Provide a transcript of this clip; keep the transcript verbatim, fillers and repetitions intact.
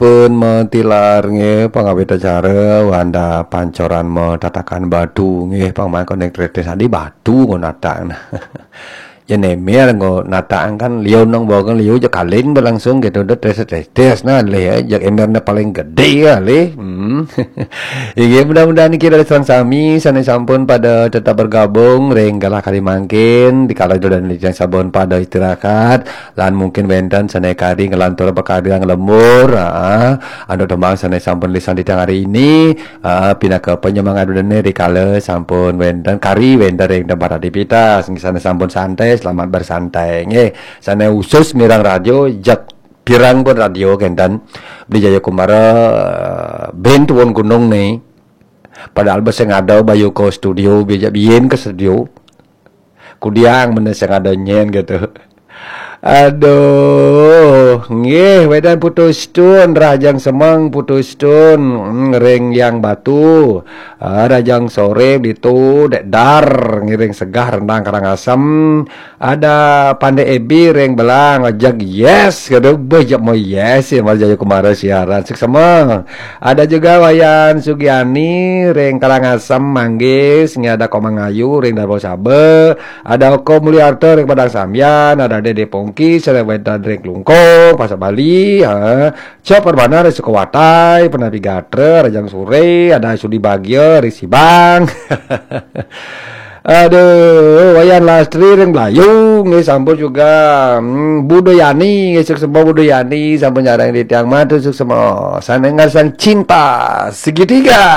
Sampun matilar nggih pangawit acara wanda pancoran matatakan batu nggih pangmangko ning tretes adi batu ngono natang. Ya nemer nggo natang kan liu nang bawa kan liu ja kaling berlangsung gitu udah tretes tretes nah lih ya jak emerne paling gede ya lih. Hmm. Inggih mudah-mudahan niki dari sareng sami sane sampun pada tetap bergabung ring galah kali mangkin dikala dan yang sabun pada istirahat lan mungkin wenten sane kari ngelantur bekarya ngelembur ah, anu tembang sane sampun lisan di hari ini ah, pinaka penyemangat dene rikala sampun wenten kari wenten ring tempat aktivitas sane sampun santai selamat bersantai nggih sane usus mirang radio jak pirang pun radio kenten beli Jaya Kumara ben tuwun gunung nih padahal bes sing ada bayu ke studio bija biyen ke studio kudiang mana sing ada nyen gitu. Aduh, nggih wedan putus tun rajang semeng putus tun hmm, ring yang batu. Ah, rajang sore ditu dek dar ngiring segah rendang Karangasem. Ada Pande Ebi ring belang ajak yes kata bejak mau yes ya mal Jaya Kumara siaran seksama. Ada juga Wayan Sugiani ring Karangasem Manggis ngi ada Komang Ayu ring Darbo Sabe. Ada Oko Mulyarta ring Padang Sambian, ada Dede Pongki, Selewedan ring Klungkung, Pasar Bali, ha. Cok Permana ring Sukawatai, Penapi Gatra, Rajang Sore, ada Sudi Bagia ring Sibang. Aduh, Wayan Lastri ring Belayu, nggih sampun juga hmm, Budayani, nggih suksma Budayani, sampun nyarang di tiang mata suksma. Sana ngarsan cinta segitiga.